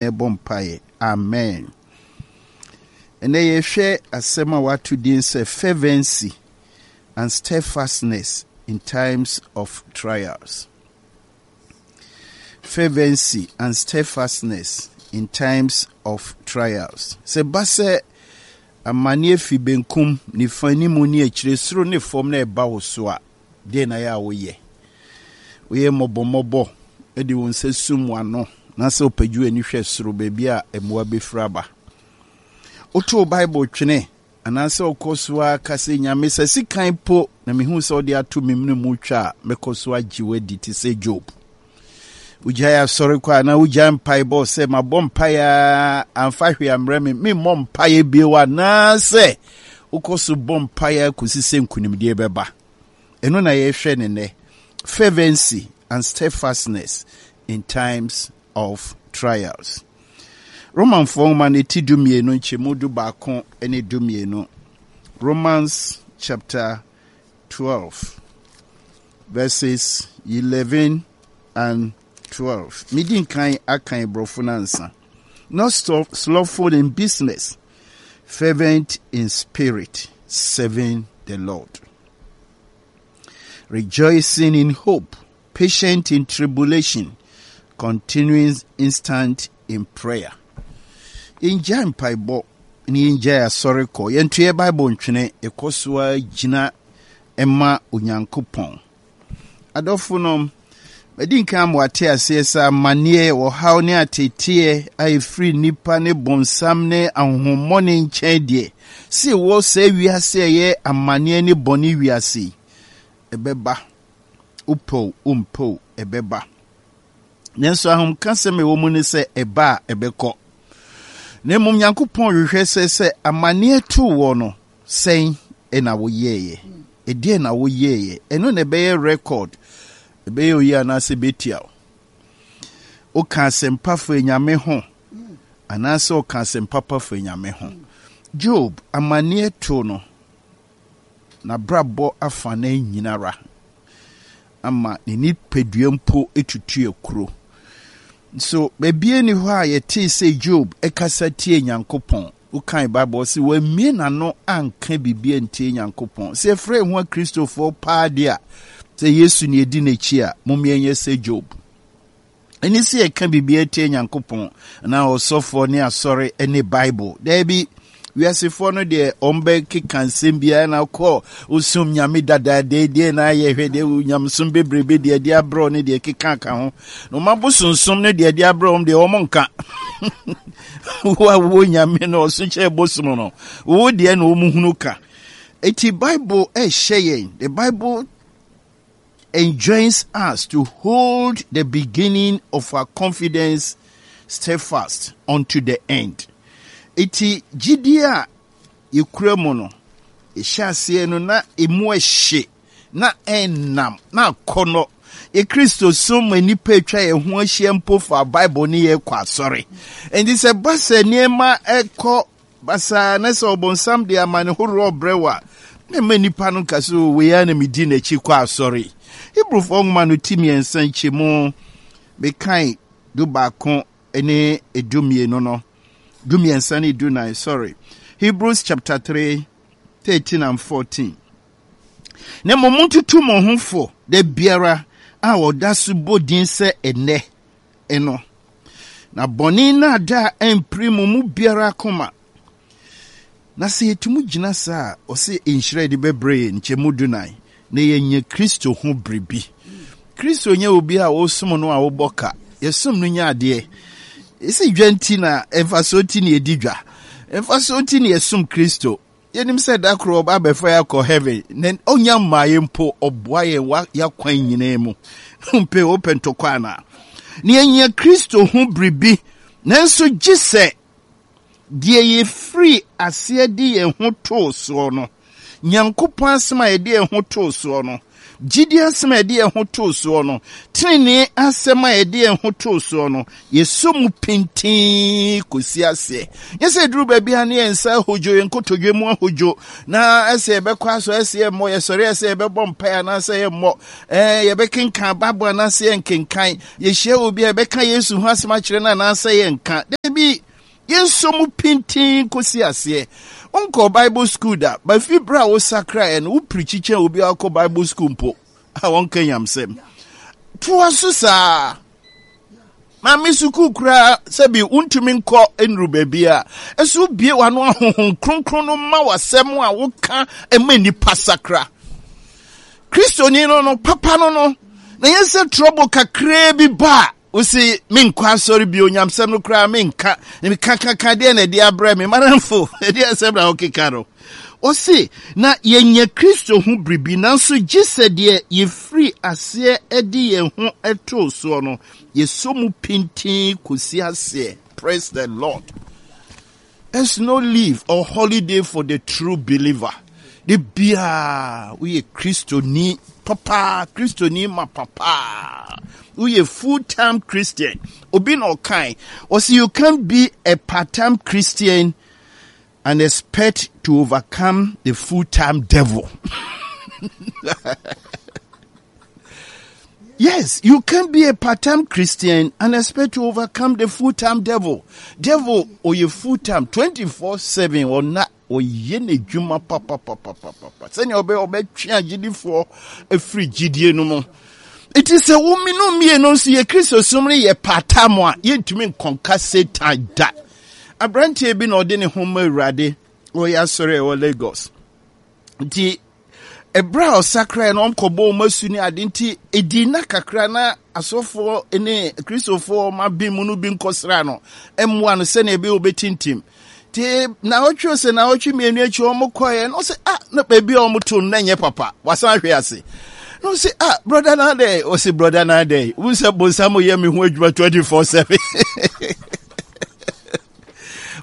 yɛbɔ mpaeɛ. Amen. Ɛnɛ yɛhwɛ asɛm a wɔato din sɛ fervency and steadfastness in times of trials. Fervency and steadfastness in times of trials. Sɛ ba sɛ amanneɛ fi benkum, nifa, anim ne akyire, soro ne fam na ɛba wo so a, deɛ na yɛ a woyɛ? Woyɛ mmɔbɔmmɔbɔ de wo nsa sum w'ano na sɛ wopagye w'ani hwɛ soro baabi a mmoa bɛfiri aba. Wotow Bible twene anaasɛ wokɔ so ara ka sɛ, Nyame, sɛ sekan po na mehu sɛ wode ato me mene mu twa a, mɛkɔ so agye wo adi te sɛ Job. Wogyae asɔre kɔ anaa wogyae mpaebɔ sɛ mabɔ mpaeɛ a amfa hwee ammrɛ me, memmɔ mpaeɛ bio anaasɛ wokɔ so bɔ mpaeɛ kɔsi sɛ nkonimdie bɛba. Ɛno na yɛhwɛ ne nnɛ. Fervency and steadfastness in times of trials. Romanfoɔ nwoma no ti 12 nkyɛmu 11 ne 12. Romans chapter 12 verses 11 and 12. Medi nkan akan borɔfo no ansa. Not slothful in business, fervent in spirit, serving the Lord. Rejoicing in hope, patient in tribulation, continuing instant in prayer. Yɛngyae mpaebɔ na yɛngyae asɔre kɔ. Yɛnto yɛ Bible ntwene, yɛkɔ so ara gyina ma Onyankopɔn. Adɔfo nom, madi nkan ama wate aseɛ sɛ amanneɛ, ɔhaw ne ateeteɛ a ɛfiri nnipa ne bonsam ne ahonhommɔne nkyɛn deɛ, sɛ ɛwɔ saa wiase a ɛyɛ amanneɛ ne bɔne wiase yi, ɛbɛba. Wopɛ o, wompɛ o, ɛbɛba. Nanso ahomkasɛm a ɛwɔ mu ne sɛ ɛba a ɛbɛkɔ. Na mmom Nyankopɔn hwehwɛ sɛ sɛ amanneɛ too wɔ no, sɛn na woyɛeɛ? Ɛdeɛn na woyɛeɛ? Ɛno na ɛbɛyɛ record. Ɛbɛyɛ oyi anaasɛ ɛbɛtia wo. Woka asɛmpa fa anyame ho anaasɛ woka asɛmpa pa fa anyame ho. Job, amanneɛ too no, n'abrabɔ afanan nyinara ama ne nipadua mpo tutu akuro. Nso baabi nni hɔ a yɛtee sɛ Job kasa tie Nyankopɔn. Wokan Bible ɔse wammue n'ano anka biribi antie Nyankopɔn. Sɛ yɛfrɛ yɛn ho Akristofoɔ paa deɛ a, sɛ Yesu ne yɛdi n'akyi a, mom yɛnyɛ sɛ Job. Ɛne sɛ yɛka biribi atia Nyankopɔn anaa ɔsɔfoɔ ne asɔre ne Bible. Daabi, wiasefoɔ no deɛ ɔmbɛkeka nsɛm biara na kɔ osom nyame dadaada deɛ na ayɛ hwɛ deɛ nyamesom bebrebe deɛ de abrɛ ne deɛ keka ka ho. Na ɔma bosonsom no deɛ de abrɛ wɔn deɛ wɔn nka. Wo a wowɔ nyame no ɔso kyɛ bosom no, wo deɛ na wɔn hunu ka. Eti Bible ɛhyɛ yɛn, the Bible enjoins us to hold the beginning of our confidence steadfast unto the end. Eti gyidie a yɛkura mu no, yɛhyɛ aseɛ no na emu ɛhye, na ɛnam, na akɔnɔ. Yɛ Kristosom ma nnipa atwa yɛn ho ahyia mpo fa Bible ne yɛkɔ asɔre. Enti sɛ ba sɛ nneɛma ɛkɔ Basaa na sɛ ɔbonsam de amane horoɔ brɛ wo a, na mma nnipa no nka sɛ, O, wei ara na medi n'akyi kɔ asɔre. Hebrifoɔ nwoma no ti mmiɛnsa nkyɛmu mekan 11 ne 12 no, 13 ne 14, sorry. Hebrews chapter 3, 13 and 14. Na mmom montutu mo ho fo da biara a ɔda so bɔ din sɛ ɛnnɛ no, na bɔne nnaadaa ampiri mo mu biara akoma. Na sɛ yɛtumi gyina saa a, ɔse nhyira yɛde bɛbrɛ yɛn nkyɛmu dunan, na yɛanya Kristo ho biribi. Kristo nyɛ obi a wosom no a wobɔ ka. Yɛsom no nya adeɛ. Ɛsɛ dwa nti na mfasoɔ nti na yɛdi dwa. Mfasoɔ nti na yɛsom Kristo. Yɛnim sɛ da koro ɔba abɛfa yɛn akɔ heaven, na ɔnya mmaa yɛn mpo, ɔboa yɛn wa yɛakwan nyinaa mu. Mpɛ wopɛ ntɔkwa anaa? Na yɛnya Kristo ho biribi, nanso gye sɛ deɛ yɛfiri aseɛ de yɛn ho too soɔ no, Nyankopɔn asɛm a yɛde yɛn ho too soɔ no, Gyidie asɛm a yɛde yɛn ho too soɔ no, tenenee asɛm a yɛde yɛn ho too soɔ no, yɛsɔ mu pintinn kɔsi aseɛ. Nyɛ sɛ ɛduru baabi a ne yɛn nsa ahodwo, yɛn nkotodwe mu ahodwo, na ɛsɛ yɛbɛkɔ asɔ, ɛsɛ yɛmmɔ, yɛsɔre ɛsɛ yɛbɛbɔ mpae anaasɛ yɛmmɔ, ɛɛ yɛbɛkenkan Bible anaasɛ yɛnkenkan, yɛhyia obi a yɛbɛka Yesu ho asɛm akyerɛ no anaasɛ yɛnka. Dabi, yɛnsɔ mu pintinn kɔsi aseɛ. Wonkɔɔ Bible school da, ba fi berɛ a wosakraeɛ no, wopirikyi kyɛn obi a ɔkɔ Bible school mpo a wɔnka nyamsɛm. Toa so saa. Maame sukuu koraa sɛbi wontumi nkɔ nnuru baabi a ɛso wobie w'ano ahohom kronkron no ma w'asɛm a woka ma nnipa sakra. Kristoni no no papa no no na yɛn sɛ trɔbo kakraa bi ba a wosi menkɔ asɔre bio nyamsɛm no koraa menka mekakaka deɛ na ɛde abrɛ me manamfo ɛde asɛm na wokeka no. Ɔse, na yɛanya Kristo ho biribi, nanso gye sɛ deɛ yɛfiri aseɛ de yɛn ho too soɔ no, yɛsɔ mu pintinn kɔsi aseɛ. Praise the Lord. There's no leave or holiday for the true believer. De biara woyɛ Kristoni papa, Kristoni ma papa. Woyɛ full-time Christian. Obi na ɔkae, ɔse you can't be a part-time Christian and expect to overcome the full-time devil. Yes, you can be a part-time Christian and expect to overcome the full-time devil. Devil or your full-time 24/7 or not ɔyɛ n'adwuma papapapapapa sɛnea ɔbɛ ɔbɛtwe agyidifoɔ afiri gyidie no mu Enti sɛ wo mene mmienu nso yɛ Kristosom no yɛ part-time a, yɛntumi nkɔnka Satan da. Aberanteɛ bi na ɔde ne ho ma Awurade, ɔyɛ asɔre a ɛwɔ Lagos. Nti, ɛberɛ a ɔsakrae no ɔmkɔbɔ wɔn asu ne ade nti, ɛdii nna kakra na asɔfoɔ ne Kristofoɔ ɔma bi mu no bi nkɔsra no mmoa no sɛnea ɛbɛyɛ ɔbɛtintim. Nti naawɔtwe sɛ naawɔtwe mmienu akyi wɔn kɔɛ na ɔsɛ ah na baabi a wɔn to no na nyɛ papa wasan ahwe ase na ɔsɛ ah broda na adɛ ɔsɛ broda na adɛ wɔn sɛ bonsam yɛ mi ho adwuma 24/7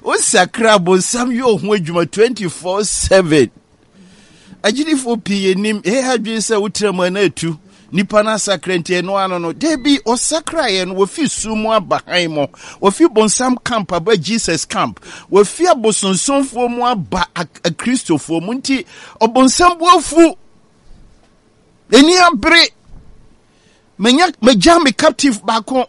wosakra bonsam yɛ ɔho adwuma 24/7 Agyidifoɔ pii yɛnim yɛyɛ adwene sɛ wotra mu a na atu nipa no asakra nti ɛno ano no dabi ɔsakraeɛ no wɔfi sum mu aba hann mu wɔfi bonsam camp aba Jesus camp wɔfi abosonsomfoɔ mu aba akristofoɔ mu nti ɔbonsam bu afu n'ani abere manya magya me captive baako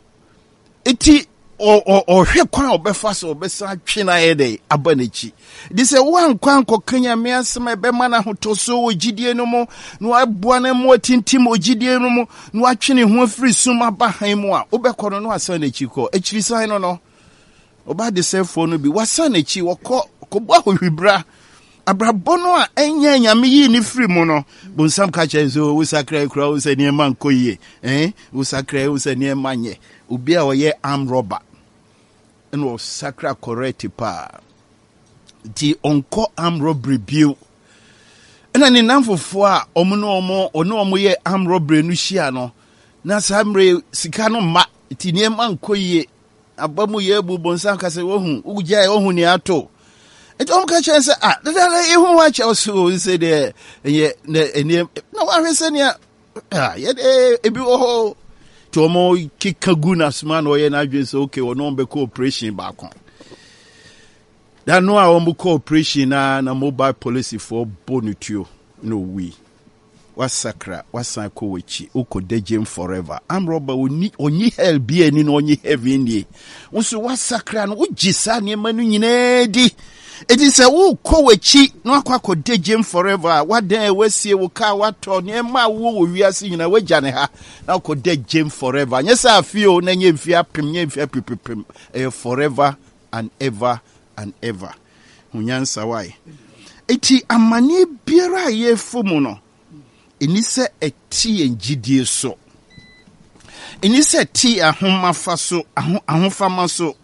Enti ɔhwɛ kwan a ɔbɛfa so ɔbɛsan atwe no ayɛ dɛ aba n'akyi. De sɛ woankɔ ankɔka Nyame asɛm a ɛbɛma no ahotɔsoɔ wɔ gyidie no mu na waboa no ma watintim wɔ gyidie no mu na watwe ne ho afiri sum aba hann mu a, wobɛkɔ no na wasan n'akyi kɔ. Akyirisan no no, ɔba adesɛefoɔ no bi, wasan n'akyi, wɔkɔ kɔbɔ ahohwibra. Abrabɔ no a ɛnyɛ Nyame yii ne firi mu no, bonsam ka kyerɛ sɛ oh, wosakra kura wo sɛ nneɛma nkɔ yie. Eh, wosakra wo sɛ nneɛma nyɛ. Obi a ɔyɛ arm robber ɛna ɔsakra correct paa. Nti ɔnkɔ arm robbery bio. Ɛna ne namfofoɔ a ɔmo ne ɔmo ɔne ɔmo yɛ arm robbery no hyia no, na saa mmerɛ sika no mma, nti nneɛma nkɔ yie. Aba mu yɛ abu bonsam ka sɛ wohu wogyae wohu nea ato nti wɔn ka kyerɛ sɛ ah dada ehu ho akyɛw so sɛ deɛ ɛyɛ na ɛneɛ na wahwɛ sɛ nea ah yɛ de ebi wɔ hɔ nti wɔn keka gu n'asoma na ɔyɛ n'adwene sɛ okay wɔn wɔn bɛkɔ operation baako da no a wɔn kɔ operation na na mobile polisifoɔ bɔ ne tuo na owui. Wasakra, wasan kɔ w'akyi, wokɔ dagyem forever. Arm robber ɔnni, ɔnyi hell bi ani na ɔnyi heaven nie. Wo nso wasakra no, wogye saa nneɛma no nyinaa di. Eti sɛ wokɔ w'akyi na wakɔ akɔ dagyem forever a, wadan a wasie wo kaa watɔ nneɛma a wowɔ wɔ wiase nyinaa wagya ne ha na wakɔ dagyem forever. Nyɛ sɛ afe o, na nyɛ mfe apem, nyɛ mfe apepepem, ɛyɛ forever and ever and ever. Hu nyansa wae. Enti amanneɛ biara a yɛrefa mu no, ɛni sɛ ɛte yɛn gyidie so. Ɛni sɛ ɛte yɛn ahomafa so, aho, ahofama so.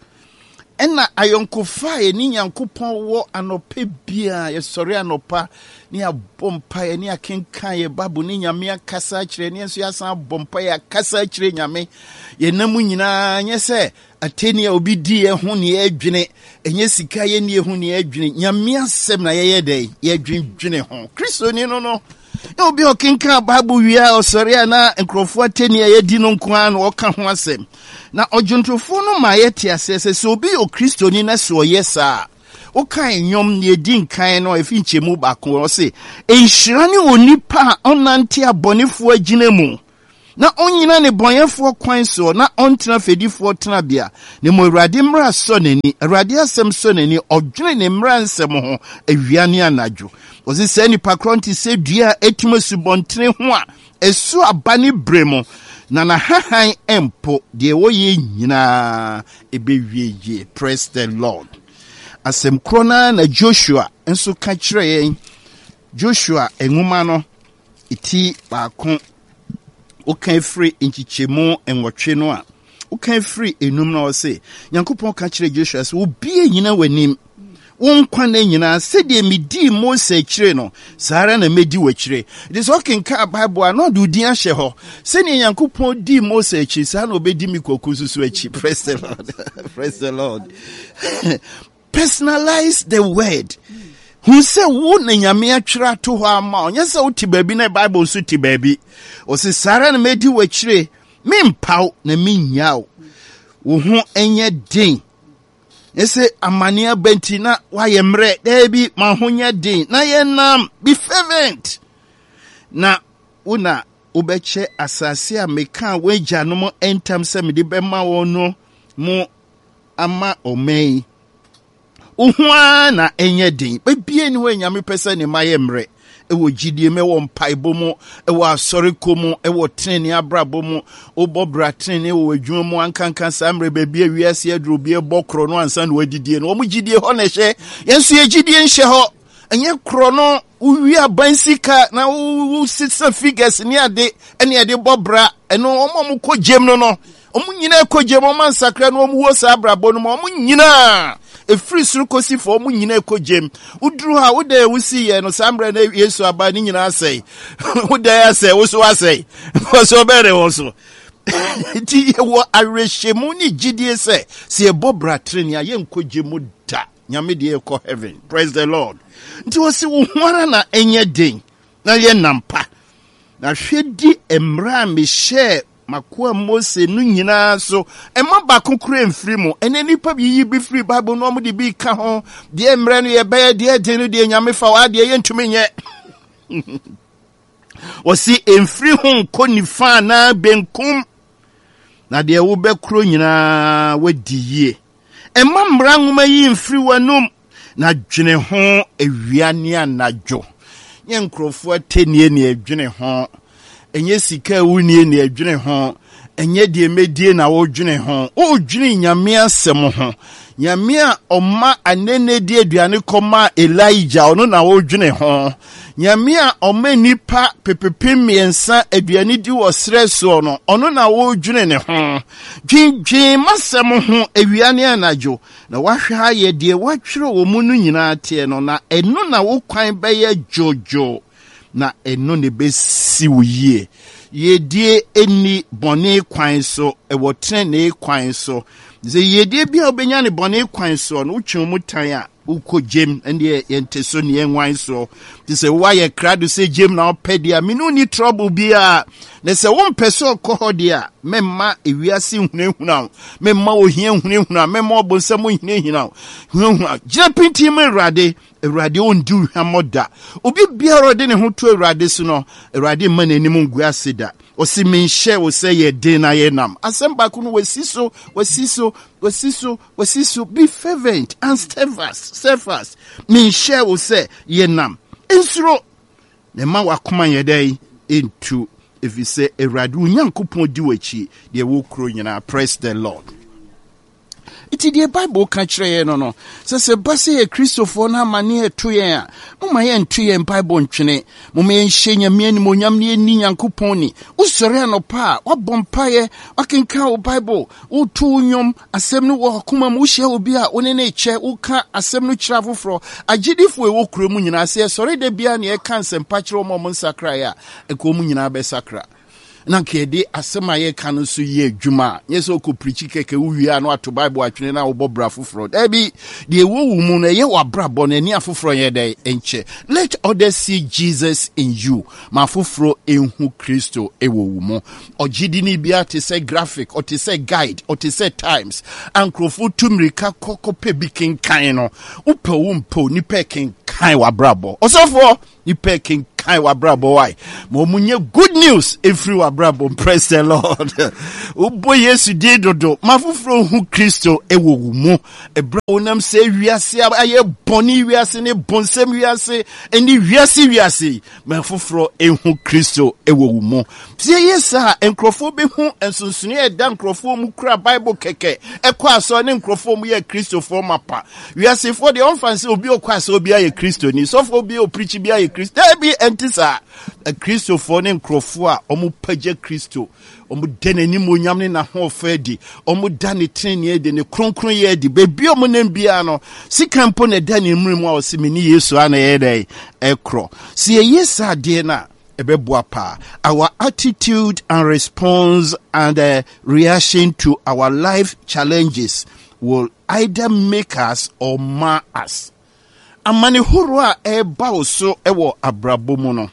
Ɛna ayɔnkofa a yɛne Nyankopɔn wɔ anɔpa biara, yɛsɔre anɔpa ne yɛabɔ mpaeɛ ne yɛakenkan yɛ Bible ne Nyame akasa akyerɛ ne yɛn nso yɛasan abɔ mpaeɛ akasa akyerɛ Nyame. Yɛn mu nyinaa nyɛ sɛ Atɛnni a obi di yɛn ho ne yɛdwene, ɛnyɛ sika yɛnni ho ne yɛdwene, Nyame asɛm na yɛyɛ dɛn? Yɛdwendwene ho. Kristoni no no. Na obi a ɔkenkan Bible wie a ɔsɔre a na nkurɔfoɔ atɛnni a yɛadi no nko ara na ɔka ho asɛm. Na ɔdwontofoɔ no ma yɛte aseɛ sɛ sɛ obi yɛ Okristoni na sɛ ɔyɛ saa a, wokae nnwom nea ɛdi nkan no a ɛfi nkyɛmu baako ɔse, Nhyira ne onipa a ɔnnante abɔnefoɔ agyina mu, na ɔnnyina nnebɔneyɛfoɔ kwan soɔ, na ɔntena fɛdifoɔ tenabea. Na mmom Awurade mmara sɔ n'ani, Awurade asɛm sɔ n'ani, ɔdwene ne mmara nsɛm ho awia ne anadwo. Ɔse saa nipa korɔ nte sɛ dua a ɛtim asubɔntene ho a ɛso aba ne berɛ mu, na n'ahahan mpo, deɛ wɔyɛ nyinaa ɛbɛwie yie. Praise the Lord. Asɛm korɔ no ara na Joshua nso ka kyerɛ yɛn. Joshua nwoma no ti baako, woka firi nkyekyɛmu nwɔtwe no a, woka firi enum na ɔse, Nyankopɔn ka kyerɛ Joshua sɛ, obi nyina w'anim, wo nkwa nna nyinaa, sɛdeɛ medii Mose akyire no, saa ara na mɛdi w'akyire. Nti sɛ ɔkenkaa Bible a, na ɔde wo din ahyɛ hɔ. Sɛdeɛ Nyankopɔn dii Mose akyi, saa na ɔbɛdi me Kwaku nso so akyi. Praise the Lord. Praise the Lord. Personalize the word. Hu sɛ wo na Nyame atwerɛ ato hɔ ama wo. Nyɛ sɛ wote baabi na Bible nso te baabi. Ɔse saa ara na mɛdi w'akyire, mempaw na mennya wo. Wo ho nyɛ den. Nyɛ sɛ amane aba nti na woayɛ mmerɛ. Daabi, ma ho nyɛ den na yɛnam. Be fervent. Na wo na wobɛkyɛ asase a mekaa wɔn agyanom ntam sɛ mede bɛma wɔn no mu ama ɔman yi. Wo ho ara na ɛnyɛ den. Baabiara nni hɔ a Nyame pɛ sɛ ne mma yɛ mmerɛ. Ɛwɔ gyidie mu, ɛwɔ mpaebɔ mu, ɛwɔ asɔrekɔ mu, ɛwɔ tenenee abrabɔ mu. Wobɔ bra tenenee wɔ w'adwuma mu ankanka saa mmerɛ baabi a wiase aduru obi ɛbɔ korɔ no ansa na wadidie no. Wɔn gyidie hɔ na ɛhyɛ. Yɛn nso yɛ gyidie nhyɛ hɔ. Ɛnyɛ korɔ no wowie aban sika na wosesa figures ne ade ɛne ɛde bɔ bra ɛno wɔn a wɔkɔ gyem no no wɔn nyinaa kɔ gyem wɔn ansakra no wɔn wɔ saa abrabɔ no mu wɔn nyinaa efiri soro kɔsi fam wɔn nyinaa kɔ gyem woduru hɔ a woda a wosi yɛ no saa mmerɛ na Yesu aba ne nyinaa asɛe woda yɛ asɛe woso asɛe wɔso ɔbɛyɛ de wɔ so nti yɛwɔ awerɛhyɛmu ne gyidie sɛ sɛ yɛbɔ bra tenenee a yɛnkɔ gyem mu da. Nyame deɛ yɛkɔ heaven. Praise the Lord. Nti wɔsi wo ho ara na ɛnyɛ den na yɛ nam pa. Na hwɛ di mmerɛ a mehyɛɛ makoa Mose no nyinaa so. Ɛma baako kura mfiri mu. Ɛnɛ nipa bi yiyi bi firi Bible no wɔn de bi ka ho. Deɛ mmerɛ no yɛbɛyɛ deɛ den no deɛ Nyame fa wɔ adeɛ yɛntumi nyɛ. Wɔsi mfiri ho nkɔ nifa anaa benkum. Na deɛ wobɛkoro nyinaa wadi yie. Mma mmara nwoma yi mfiri w'anom, na dwene ho awia ne anadwo. Nyɛ nkurɔfoɔ atɛnnie na ɛdwene ho, ɛnyɛ sika a wonnie na ɛdwene ho, ɛnyɛ deɛ mɛdie na wodwene ho. Wodwene Nyame asɛm ho. Nyame a ɔma anene di aduane kɔmaa Elijah, ɔno na wodwene ho. Nyame a ɔma nnipa pepepem mmiɛnsa aduane di wɔ serɛ soɔ no, ɔno na wodwene ne ho. Dwendwen m'asɛm ho awia ne anadwo, na woahwɛ ayɛ deɛ wɔatwerɛ wɔ mu no nyinaa teɛ no, na ɛno na wo kwan bɛyɛ dwoodwoo, na ɛno na ɛbɛsi wo yie. Yiedie nni bɔne kwan so, ɛwɔ tenenee kwan so. Sɛ yiedie bi a wobɛnya ne bɔne kwan soɔ no, wotwe wo mu tan a, Wokɔ gyem ɛndeɛ yɛnte so ne yɛnwan soɔ. Nti sɛ woayɛ krado sɛ gyem na wopɛ deɛ a, me ne wo ni trouble biara. Na sɛ wompɛ sɛ ɔkɔ hɔ deɛ a, mɛmma ewiase nhunahuna wo, mɛmma ohia nhunahuna wo, mɛmma ɔbonsam nhunahuna wo. Hunahuna. Gyina pintinn ma Awurade. Awurade ɔndi wo hwammɔ da. Obi biara ɔde ne ho to Awurade so no, Awurade mma n'anim ngu ase da. Ɔse menhyɛ wo sɛ yɛ den na yɛ nam. Asɛm baako no wasi so, wasi so, wasi so. Wɔsi so be fervent and steadfast, steadfast. Menhyɛɛ wo sɛ yɛ nam. Nsuro, na mma w'akoma nyɛ dɛn ntu, ɛfiri sɛ Awurade wo Nyankopɔn di w'akyi deɛ ɛwɔ kuro nyinaa. Praise the Lord. Nti deɛ Bible ka kyerɛ yɛn no no, sɛ sɛ ba sɛ yɛ Kristofoɔ no amane ɛto yɛn a, momma yɛnto yɛn mpaebɔ ntwene. Momma yɛnhyɛ Nyame animuonyam na yɛnni Nyankopɔn ni. Wosɔre anɔpa a, woabɔ mpaeɛ, woakenkan wo Bible, woto wo nnwom, Asɛm no wɔ w'akoma mu. Wohyia obi a, wo ne no rekyɛ. Woka asɛm no kyerɛ afoforɔ. Agyidifo a ɛwɔ kuro mu nyinaa, sɛ yɛsɔre da biara na yɛka nsɛmpa kyerɛ wɔn a wɔnsakraeɛ a, anka wɔn nyinaa bɛsakra. na nka yɛde asɛm a yɛka no nso yɛ adwuma a, nyɛ sɛ wokɔ pirikyi kɛkɛ wowie a na wato Bible atwene na wobɔ bra foforɔ. Daabi, deɛ ɛwɔ wo mu no ɛyɛ w'abrabɔ no ɛne afoforɔ nyɛ dɛn nkyɛ. Let others see Jesus in you. Ma afoforɔ nhu Kristo wɔ wo mu. Ɔgyedini biara te sɛ graphic, ɔte sɛ guide, ɔte sɛ Times a nkurɔfoɔ tu mmirika kɔ kɔpɛ bi kenkan no. Wopɛ wo mpɛ o, nipa kenkan w'abrabɔ. Ɔsɔfoɔ, nipa kenkan w'abrabɔ wae. Ma wɔn nyɛ good news efiri w'abrabɔ. Praise the Lord. Wobɔ Yesu din dodo. Ma afoforɔ hu Kristo wɔ wo mu. Ɛberɛ a wonam sɛ wiase ayɛ bɔne wiase ne bonsɛm wiase ne wiase wiase yi, ma afoforɔ nhu Kristo wɔ wo mu. Sɛ yɛyɛ saa a, nkurɔfoɔ bɛhu nsonsonoeɛ a ɛda nkurɔfoɔ mu kura Bible kɛkɛ ɛkɔ asɔre ne nkurɔfoɔ mu yɛ Kristofoɔ mapa. Wiasefoɔ deɛ wɔmfa nsɛ obi ɔkɔ asɔre bi ayɛ Kristoni, sɔfoɔ bi ɔpirikyi bi ayɛ Kristo. Daabi, ɛnte saa. Kristofoɔ ne nkurɔfoɔ a wɔpagya Kristo, wɔda n'animuonyam ne n'ahoɔfɛ adi, wɔda ne tenenee adi, ne kronkronyɛ adi. Baabi a wɔnam biara no, sika mpo na ɛda ne mmere mu a ɔse me ne Yesu a na ɛyɛ dɛn ɛkorɔ. Sɛ yɛyɛ saa adeɛ no a, ɛbɛboa paa. Our attitude and response and uh, reaction to our life challenges will either make us or mar us. Amane horow a ɛreba wo so wɔ abrabɔ mu no,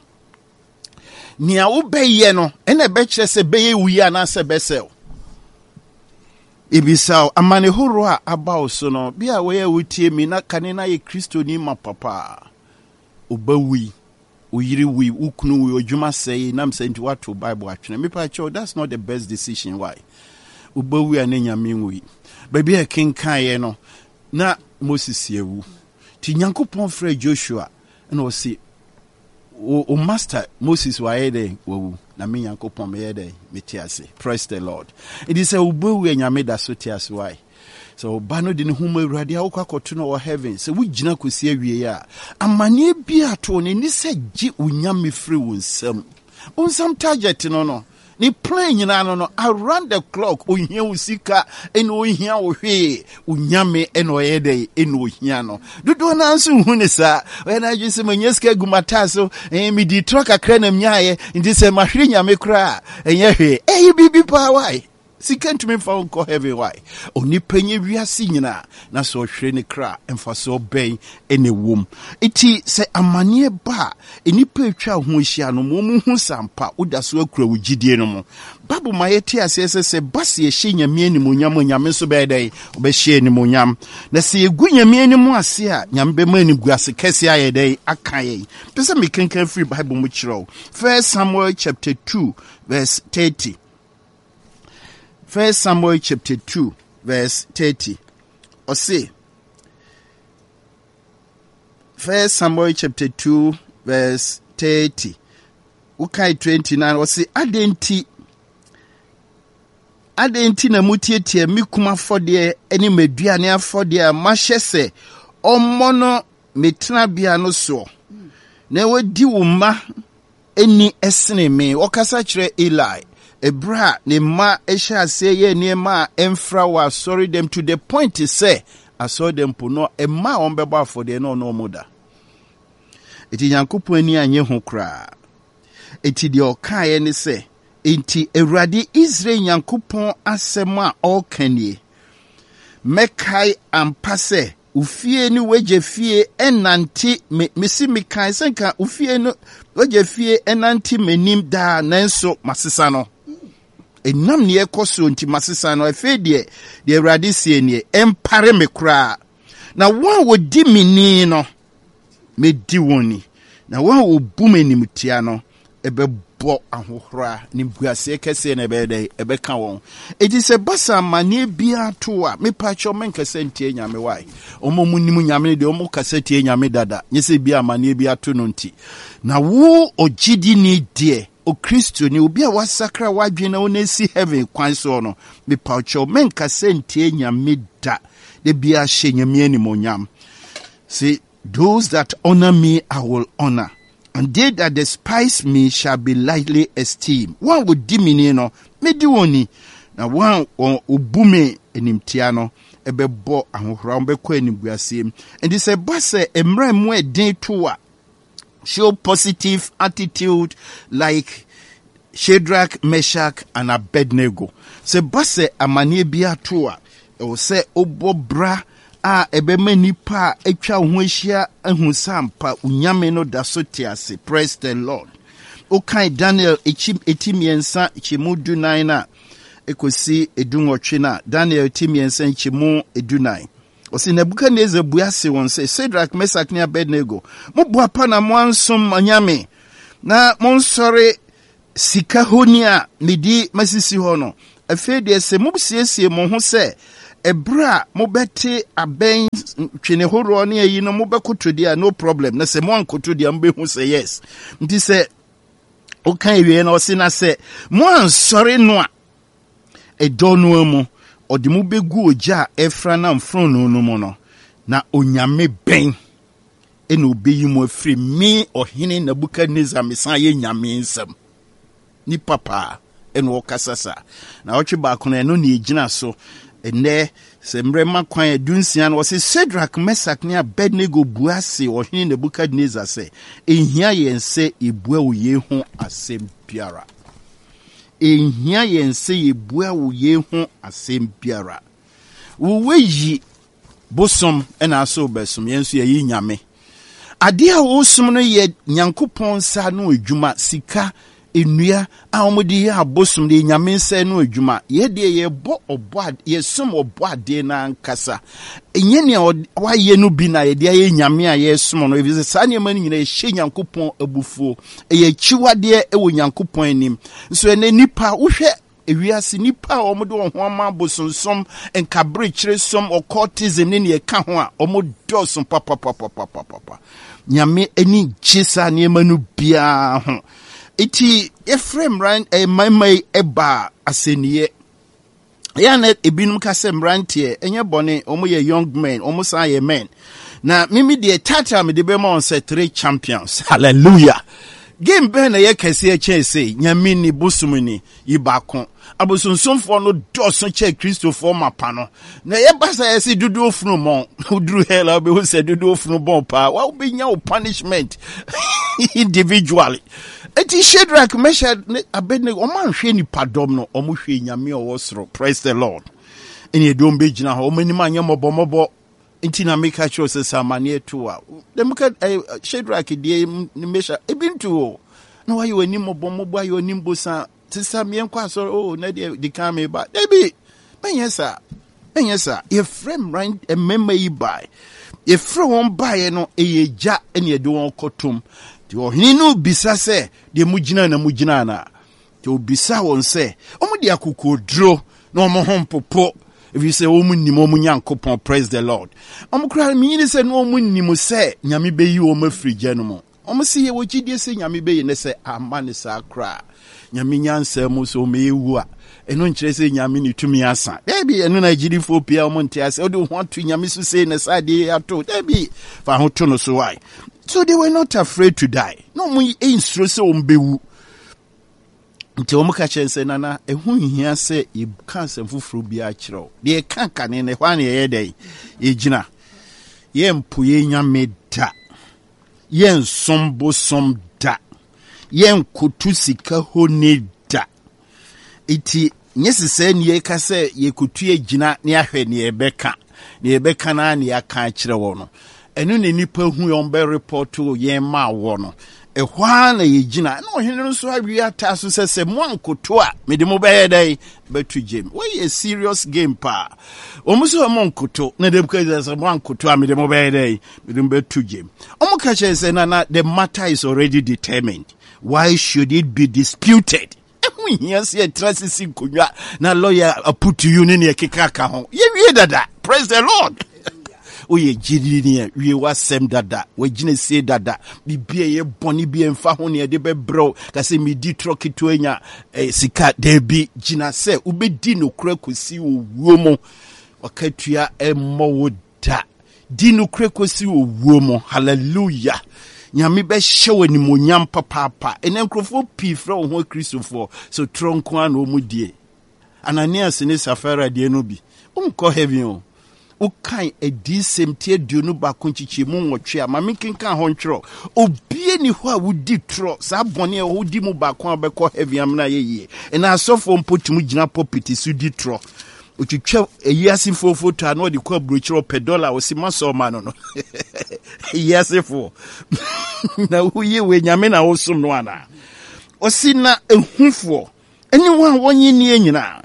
nea wobɛyɛ no ɛna ɛbɛkyerɛ sɛ bɛyɛ wo yie anaasɛ bɛsɛe wo. Ebisa wo, amane horow a aba wo so no, bi a wɔyɛ wotie mi na kane na yɛ Kristoni ma papa. Oba wui, wo yere wui, wo kunu wui, odwuma sɛe, nam sɛ nti woato Bible atwene. Mepa kyɛw, that's not the best decision. Why? Oba wui a ne nyame nwui. Baabi a ɛkenkaeɛ no, na Moses awu. Nti Nyankopɔn frɛ Joshua na ɔse, wo, wo master Moses wayɛ dɛn? Wawu. Na me Nyankopɔn meyɛ dɛn? Mete ase. Praise the Lord. Nti sɛ wobɛwu a Nyame da so te ase. Why? Sɛ ɔba no de ne ho ma Awurade a wokɔ akɔto no wɔ heaven, sɛ wogyina kɔsi awiei a, amanneɛ bi a to no ɛni sɛ gye wo Nyame firi wo nsam. Bonsam target no no, ne plan nyinaa no no, around the clock, ohia wo sika, ɛna ohia wo hwee, wo Nyame ɛna ɔyɛ dɛn, ɛna ohia no. Dodoɔ no ara nso nhu ne saa. Ɔyɛ n'adwene sɛ manya sika agu m'ataa so, ɛɛ medi trɔ kakra na menyaeɛ, nti sɛ mahwere Nyame koraa a, ɛnyɛ hwee. Ɛyɛ biribi paa why? Sika ntumi mfa wo nkɔ heaven why? Onipa nya wiase nyinaa na sɛ ɔhwere ne kra a, mfasoɔ bɛn na ɛwɔ mu? Enti sɛ amaneɛ ba a, nnipa atwa wo ho ahyia no ma wɔhu sɛ ampa woda so akura wo gyidie no mu. Bible ma yɛte aseɛ sɛ sɛ ɛba sɛ yɛhyɛ Nyame animuonyam a, Nyame nso bɛyɛ dɛn? Ɔbɛhyɛ animuonyam. Na sɛ yɛgu Nyame anim ase a, Nyame bɛma animguase kɛseɛ ayɛ dɛn? Aka yɛn. Pɛ sɛ mekenkan firi Bible mu kyerɛ wo. First Samuel chapter 2 verse 30. First Samuel chapter 2 verse 30. Ɔse, First Samuel chapter 2 verse 30. Wokae 29 ɔse, adɛn nti adɛn nti na motietie me kum afɔdeɛ ne m'aduane afɔdeɛ a mahyɛ sɛ ɔmmɔ no me tenabea no soɔ na wadi wo mma nni sene me. Ɔkasa kyerɛ Eli ɛberɛ a ne mma hyɛ aseɛ yɛ nneɛma a ɛmfra wɔ asɔredɛm to the point sɛ asɔredɛm po no mma a wɔbɛbɔ afɔdeɛ na ɔne wɔn da. Enti Nyankopɔn ani annye ho koraa. Enti deɛ ɔkaeɛ ne sɛ, Enti Awurade Israel Nyankopɔn asɛm a ɔreka nie, Mɛkae ampa sɛ Wo fie ne w'agya fie nnante me mese mekae sɛ nka wo fie no w'agya fie nnante m'anim daa nanso masesa no ɛnam neɛ ɛkɔ soɔ nti masesa no afei deɛ deɛ awurade sie nie ɛmpare me koraa na wɔn a wɔdi me ni no Mɛdi wɔn ni, na wɔn a wɔbu me animtia no bɛbɔ ahohora, animguaseɛ kɛseɛ na ɛbɛyɛ dɛn? Ɛbɛka wɔn. Enti sɛ ɛba sɛ amanneɛ biara to a, mepa kyɛw menkasa ntia Nyame wae. Wɔn a wɔnim Nyame no deɛ wɔn kasa tia Nyame dada, nyɛ sɛ bi amanneɛ bi ato no nti. Na wo ɔgyidini deɛ, Okristoni, obi a wasakra w'adwene na wona asi heaven kwan soɔ no, mepa kyɛw menkasa ntia Nyame da. Da biara hyɛ Nyame animuonyam. See, those that honor me, I will honor, and they that despise me shall be lightly esteemed. Wɔn a wɔdi me ni no, medi wɔn ni, na wɔn a wɔbu me animtia no, ɛbɛbɔ ahohora, wɔbɛkɔ animguaseɛ mu. Nti sɛ ɛba sɛ mmerɛ mu ɛden to a, show positive attitude like. Shadrach, Meshach and Abednego. Sɛ ba sɛ amanneɛ bi ato a, ɛwɔ sɛ wobɔ bra a ɛbɛma nnipa a atwa wo ho ahyia ahu sɛ ampa wo Nyame no da so te ase. Praise the Lord. Wokan Daniel ekyi eti mmiɛnsa kyɛmu dunan a ekosi edunwɔtwe no a, Daniel ti mmiɛnsa nkyɛmu edunan. Ɔse Nebukadnesar bua se wɔn sɛ, Sadrak, Mesak ne Abednego, mo boapa na moansom anyame, na monsɔre sika honi a mede masisi hɔ no. Afei deɛ sɛ mosiesie mo ho sɛ ɛberɛ a mobɛte abɛn twene horoɔ ne ayi no mobɛkoto deɛ a, no problem. Na sɛ moankoto deɛ a mobɛhu sɛ yes. Nti sɛ woka awie no ɔse na sɛ moansɔre no a, Ɛdɔ no ara mu, ɔde mo bɛgu ogya a ɛrefra nam fononoo no mu no, na onyame bɛn na ɔbɛyi mo afiri me ɔhene Nebukadnesar mesan yɛ nyame nsam? Nipa paa ɛna ɔkasa saa. Na ɔtwe baako no ɛno na ɛgyina so ɛnɛ sɛ mmerɛ ma kwan adunsia no ɔse Shadrach, Mesak ne Abednego bua se ɔhene Nebukadnesar sɛ, ɛnhia yɛn sɛ yɛbua wo yei ho asɛm biara. Enhia yɛn sɛ yebua wo yei ho asɛm biara. Wo woayi bosom na ase wobɛsom, yɛn nso yɛyi Nyame. Adeɛ a wosom no yɛ Nyankopɔn nsa ano adwuma, sika, nnua a wɔde yɛ abosom no yɛ Nyame nsa ano adwuma. Yɛ deɛ yɛbɔ ɔbɔ yɛsom ɔbɔ adeɛ no ankasa. Ɛnyɛ nea wayɛ no bi na yɛde ayɛ Nyame a yɛsom no, efisɛ saa nneɛma no nyinaa ɛhyɛ Nyankopɔn abufuo. Ɛyɛ akyiwadeɛ wɔ Nyankopɔn anim. Nso ɛnɛ nnipa, wohwɛ ewiase nnipa a wɔde wɔn ho ama abosonsom, nkaberekyeresom, occultism ne nea ɛka ho a, wɔn dɔɔso papapapapapapa. Nyame ani gye saa nneɛma no biara ho. Eti yɛfrɛ mmran eh, mmarima yi ɛbaa asɛnniiɛ. Ɛyɛ a na ebinom ka sɛ mmeranteɛ ɛnyɛ bɔne, wɔn yɛ young men, wɔn san yɛ men. Na mimi deɛ title a mede bɛma wɔn sɛ three champions. Hallelujah. Game bɛn na ɛyɛ kɛseɛ kyɛn sei? Nyame ni, bosom ni, yi baako. Abosonsomfoɔ no dɔɔso kyɛn Kristofoɔ mapa no. Na ɛyɛ ba sɛ ɛsɛ dodoɔ funu mɔn. Woduru hell a wobɛhu sɛ dodoɔ funu bɔn paa. Wa wobɛnya wo punishment individually. Eti Shadrach, Meshach ne Abednego, wɔn anhwɛ nipadɔm no, wɔn hwɛ Nyame a ɔwɔ soro. Praise the Lord. Ɛne ɛde wɔn bɛgyina hɔ, wɔn anim anyɛ mmɔbɔmmɔbɔ. Nti na meka kyerɛ sɛ sɛ amaneɛ to a, dɛm ka eh, Shadrach deɛ ne Meshach, ebi nto o. Na wayɛ wɔn anim mmɔbɔmmɔbɔ, ayɛ wɔn anim bosan. Sesa meɛnkɔ asɔre, oh, na deɛ di kan meba. Dabi, mɛnyɛ saa. Ɛnyɛ saa. Yɛfrɛ mmeran mmarima yi bae. Yɛfrɛ wɔn baeɛ no, ɛyɛ gya na yɛde wɔn kɔtom. Nti ɔhene no bisa sɛ, deɛ mogyina na mogyina anaa? Nti ɔbisa wɔn sɛ, wɔn de akokoɔduro na wɔn ho mpopo, ɛfiri sɛ wɔn nim wɔn Nyankopɔn. Praise the Lord. Wɔn koraa menyini sɛ na wɔn nim sɛ Nyame bɛyi wɔn afiri gya no mu. Wɔn se yɛwɔ gyidie sɛ Nyame bɛyi ne sɛ amma ne saa koraa. Nyame nyansa mu sɛ wɔn ɛwu a, ɛno nkyerɛ sɛ Nyame ne tumi asa. Daabi, ɛno na agyidifoɔ pii a wɔn nte ase. Wode wo ho ato Nyame so sei na saa adeɛ yi ato. Daabi, fa ho to no so why? So they were not afraid to die. Na wɔn nsuro sɛ wɔn bɛwu. Nti wɔn ka kyerɛ sɛ nana ɛho nhia sɛ yɛka asɛm foforɔ biara kyerɛ wo. Deɛ yɛka kane no ɛhɔ a na yɛyɛ dɛn? Yɛgyina. Yɛmpo yɛn Nyame da. Yɛnsom bosom da. Yɛnkoto sika honi da. Enti, nyɛ sɛ saa ni yɛka sɛ yɛkotu agyina ne ahwɛ nea yɛbɛka. Nea yɛbɛka no ara na yɛaka akyerɛ wɔ no. Ɛno na nnipa hu yɛn bɛrepɔto yɛn ma wɔ no. Ɛhɔ ara na yɛgyina. Na ɔhene no nso awie ataa so sɛ sɛ moankoto a, mede mo bɛyɛ dɛn? Bɛto gyem. Wei yɛ serious game paa. Wɔn nso wɔn nkoto. Na Nebukadnesar sɛ moankoto a, mede mo bɛyɛ dɛn? Mede mo bɛto gyem. Wɔn ka kyerɛ sɛ nana the matter is already determined. Why should it be disputed? Ɛho hia sɛ yɛtra sisi nkonnwa na lawyer aputu you ne nea ɛkeka ka ho. Yɛwie dada. Praise the Lord. Woyɛ gyidini ni a, wie w'asɛm dada, w'agyina sie dada, biribi a ɛyɛ bɔne bi a ɛmfa ho nea ɛde bɛbrɛ wo, ka sɛ medi torɔ ketewa nya eh, sika. Daabi, gyina sɛ wobɛdi nokorɛ kɔsi owuo mu. Wakatua mmɔ wo da. Di nokorɛ kɔsi owuo mu. Hallelujah. Nyame bɛhyɛ wo animuonyam papaapa. Ɛnɛ nkurɔfoɔ pii frɛ wɔn ho Akristofoɔ, so torɔ nko ara na wɔn die. Ananias ne Safira deɛ no bi. Wonkɔ heaven o. Wokan Adiyisɛm ti 21 nkyekyɛmu 8 a, ma menkenkan hɔ ntwerɛ. Obi Obie ni hɔ a wodi torɔ saa bɔne a wodi mu baako a bɛkɔ heaven amena yɛ yie. Ɛna asɔfoɔ mpo tumi gyina pulpit so di torɔ. Otwitwa eyiasefoɔ foto a na ɔde kɔ aburokyerɛ ɔpɛ dɔla a ɔsi ma sɛ ɔma no no. Eyiasefoɔ. Na woyɛ wei nyame na wosom no anaa? Ɔsi na ehufoɔ ɛne wɔn a wɔnye nnie nyinaa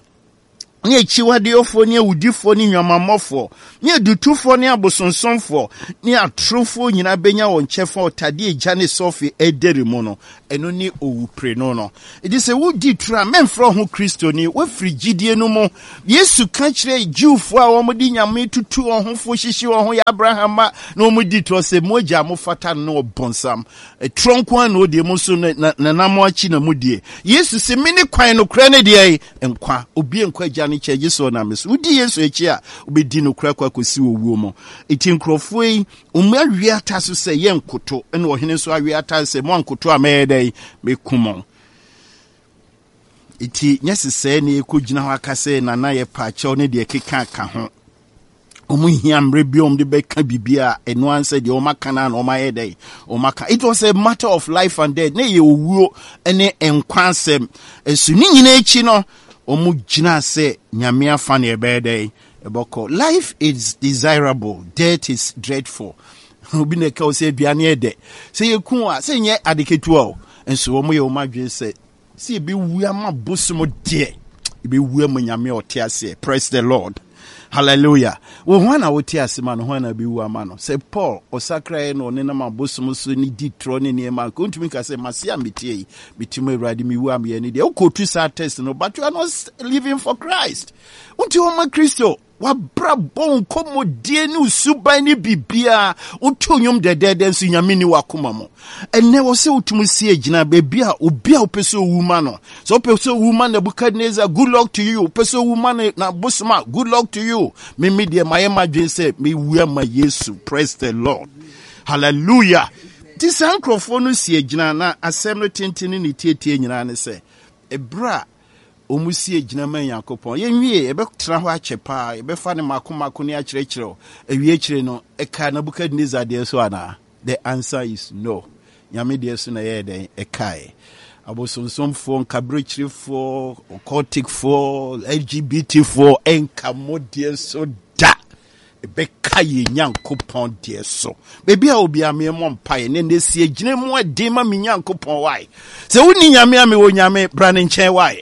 ne akyiwadeɛfoɔ ne awudifoɔ ne nnwamammɔfoɔ ne adutofoɔ ne abosonsomfoɔ ne atorofoɔ nyinaa bɛnya wɔn kyɛfa ɔtadeɛ egya ne sɔfe ɛdɛre mu no, ɛno ne owuprenu no. Enti sɛ wodi toro a, mɛmfrɛ ho Kristoni, woafiri gyidie no mu. Yesu ka kyerɛɛ Jewfoɔ a wɔde nyame tutu wɔn ho fo hyehye wɔn ho yɛ Abraham mma na wɔdi torɔ sɛ, Mo agya a mofata no ne ɔbonsam. Torɔ nko ara na ɔdie, mo nso nanam akyi na modie. Yesu se, Mene kwan, nokorɛ ne deɛ nkwa. Obi nkɔ agya no nkyɛn gye sɛ ɔnam me so. Wodi Yesu akyi a, wobɛdi nokorɛ akɔ akɔsi owuo mu. Enti nkurɔfoɔ yi, wɔn awe ata so sɛ yɛnkoto, ɛna ɔhene nso awe ata sɛ moankoto a mɛyɛ dɛn? Mɛku mo. Enti nyɛ sesɛɛ na yɛkɔgyina hɔ aka sɛ nana yɛ paakyɛw ne deɛ ɛkeka ka ho. Wɔn hia mmerɛ bi a wɔn de bɛka biribi a ɛno ara sɛ deɛ wɔn aka no na wɔn ayɛ dɛn wɔn aka. It was a matter of life and death. Ne yɛ owuo ne nkwa asɛm. Nso ne nyinaa akyi no wɔn gyina sɛ nyame afa na ɛbɛyɛ dɛn ɛbɛkɔ. Life is desirable, death is dreadful. Obi na ɛka wo sɛ aduane yɛ dɛ. Sɛ yɛku a sɛ nyɛ ade ketewa o. Nso wɔn yɛ wɔn adwene sɛ Sɛ yɛbɛwu ama bosom deɛ, yɛbɛwu ama Nyame a ɔte aseɛ. Praise the Lord. Hallelujah. Wo ho na wote ase ma no, ho na bɛwu ama no. Sɛ Paul ɔsakraeɛ na ɔnenam abosom so ne di torɔ ne nneɛma, nka ɔntumi nka sɛ mase a meteɛ yi, mete mu Awurade mewu a meyɛ ne deɛ. Wokɔtu saa test no, but you are not living for Christ. Wonti hɔ ma Kristo. W'abrabɔ, wo nkɔmmɔdie ne wo suban ne biribiara, woto nnwom dɛdɛɛdɛ nso Nyame ni w'akoma mu. Ɛnnɛ wɔ sɛ wotumi si agyina baabi a obi a wopɛ sɛ owu ma no. Sɛ wopɛ sɛ owu ma Nebuchadnezzar, good luck to you. Wopɛ sɛ owu ma no na bosom a, good luck to you. Me me deɛ mayɛ m'adwene sɛ mewu ama Yesu. Praise the Lord. Hallelujah. Nti saa nkurɔfoɔ no si agyina na asɛm no tenten ne ne tietie nyinaa ne sɛ, ɛberɛ a Wɔsi agyina ma Nyankopɔn. Yɛnwie, yɛbɛtena hɔ akyɛ paa, yɛbɛfa no mako mako ne akyerɛkyerɛw. Awie akyire no, ɛkaa Nebuchadnezzar deɛ so anaa? The answer is no. Nyame deɛ so na ɛyɛɛ dɛn? Ɛkaeɛ. Abosonsomfoɔ, nkaberɛkyirefoɔ, occulticfoɔ, LGBTfoɔ, ɛnka mo deɛ so da. Ɛbɛka yɛn Nyankopɔn deɛ so. Baabi a obi a memmɔ mpaeɛ ne nnɛ si agyina mu ɛden ma me Nyankopɔn wae. Sɛ wonni Nyame a mewɔ Nyame, bra ne nkyɛn wae.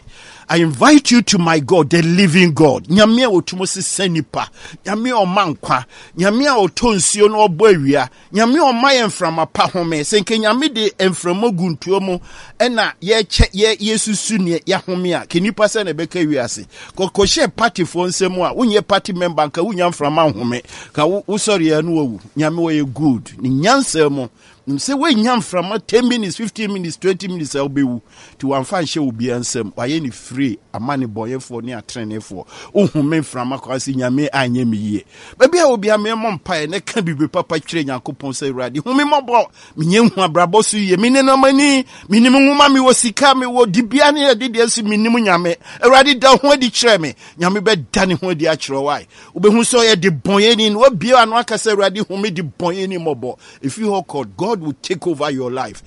I invite you to my God, the living God. Nyame a ɔtumi sesa nipa, Nyame a ɔma nkwa, Nyame a ɔtɔ nsuo na ɔbɔ awia, Nyame ɔma yɛ mframa pa home. Sɛ nka Nyame de mframa gu ntoa mu ɛna yɛkyɛ yɛ yɛsusu neɛ yɛahome a, ka nipa sɛ na ɛbɛka wiase. Kɔkɔhyɛ partyfoɔ nsam a, wonyɛ party member nka wonya mframa nhome. Ka wosɔre a na wawu. Nyame ɔyɛ good. Ne nyansa mu. Nim sɛ woanya mframa 10 minutes, 15 minutes, 20 minutes a wobɛwu. Nti wamfa nhyɛ obiara nsam. Wayɛ ne free ama ne bɔnyɛfoɔ ne atreneefoɔ. Wohome mframa kɔ ase Nyame anyɛ me yie. Baabi a obiara memmɔ mpaeɛ na ka biribi papa kyerɛ Nyankopɔn sɛ Awurade hu me mmɔbɔ, menyɛ nhu abrabɔ so yie, me nenamani, menim nwoma, mewɔ sika, mewɔ dibea ne ɛde deɛ nso menim Nyame. Awurade da ho adi kyerɛ me. Nyame bɛda ne ho adi akyerɛ wo ae. Wobɛhu sɛ ɔyɛ de bɔnyɛni na wabue ano aka sɛ Awurade hu me de bɔnyɛni mmɔbɔ. Ɛfiri hɔ kɔ, God will take over your life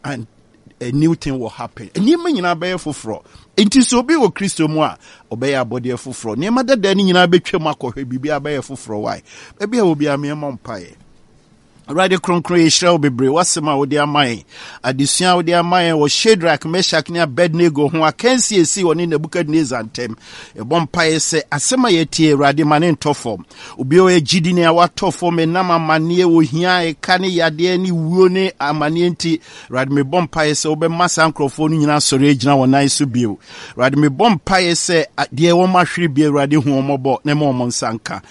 and a new thing will happen. Nneɛma nyinaa bɛyɛ foforɔ. Nti sɛ obi wɔ Kristo mu a, ɔbɛyɛ abɔdeɛ foforɔ. Nneɛma dada no nyinaa bɛtwam akɔhwɛ, biribiara bɛyɛ foforɔ. Why? Baabi a obiara meɛmmɔ mpaeɛ. Awurade kronkron yɛhyira wo bebree w'asɛm a wode ama yɛn adesua a wode ama yɛn wɔ Shadrach, Meshach ne Abednego ho akansi esi ɔne Nebukadnezar ntam. Yɛbɔ mpaeɛ sɛ asɛm a yɛtie Awurade ma ne ntɔ fam. Obi a ɔyɛ gyidini a watɔ fam ɛnam amanneɛ, ohia, ɛka ne yadeɛ ne wuo ne amanneɛ nti, Awurade mebɔ mpaeɛ sɛ wobɛma saa nkurɔfoɔ no nyinaa asɔre agyina wɔn nan so bio. Awurade mebɔ mpaeɛ sɛ deɛ wɔn ahwere bi Awurade hu wɔn mmɔbɔ na ɛma wɔn nsa nka.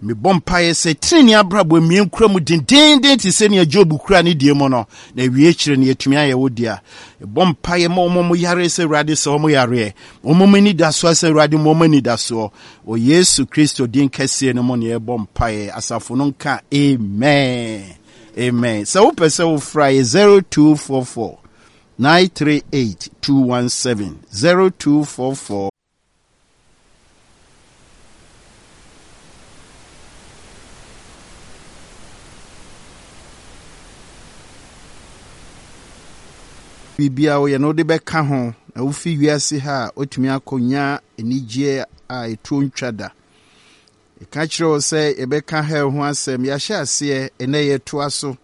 Mebɔ mpaeɛ sɛ tenenee abrabɔ mmie nkura mu dendeenden te sɛ nea Job kura ne deɛ mu no, na awie akyire no yɛatumi ayɛ wo dea. Mebɔ mpaeɛ ma wɔn a wɔyare sɛ Awurade sɛ wɔn yareɛ, wɔn a wɔn anidasoɔ sɛ Awurade ma wɔn anidasoɔ. Wɔ Yesu Kristo din kɛseɛ no mu na yɛbɔ mpaeɛ. Asafo no nka amen. Amen. Sɛ wopɛ sɛ wofra yɛ 0244 938 217 0244 Biribiara woyɛ no wode bɛka ho na wofi wiase ha a wotumi akɔnya anigyeɛ a ɛtuo ntwa da. Yɛka kyerɛ wo sɛ yɛbɛka hell ho asɛm, yɛahyɛ aseɛ, ɛnɛ yɛtoa so.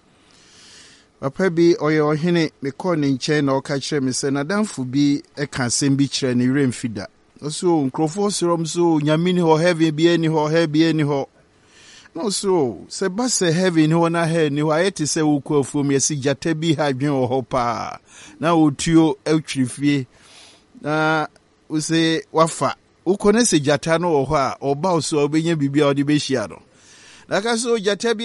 Papa bi, ɔyɛ ɔhene, mekɔɔ ne nkyɛn na ɔka kyerɛ me sɛ n'adamfo bi ka asɛm bi kyerɛ ne werɛ mfi da. Ɔse o, nkurɔfoɔ srɛ m so, Nyame ni hɔ, heaven biara ni hɔ, hell biara ni hɔ. Na ɔse o, sɛ ba sɛ heaven ni hɔ na hell ni hɔ, ayɛ te sɛ wokɔ afuom, yɛse gyata bi ha adwene wɔ hɔ paa, na ɔtuo twere fie, na wose wafa. Wokɔ na sɛ gyata no wɔ hɔ a, ɔba wo so a, wobɛnya biribi a wode bɛhyia no. Na ka sɛ o, gyata bi.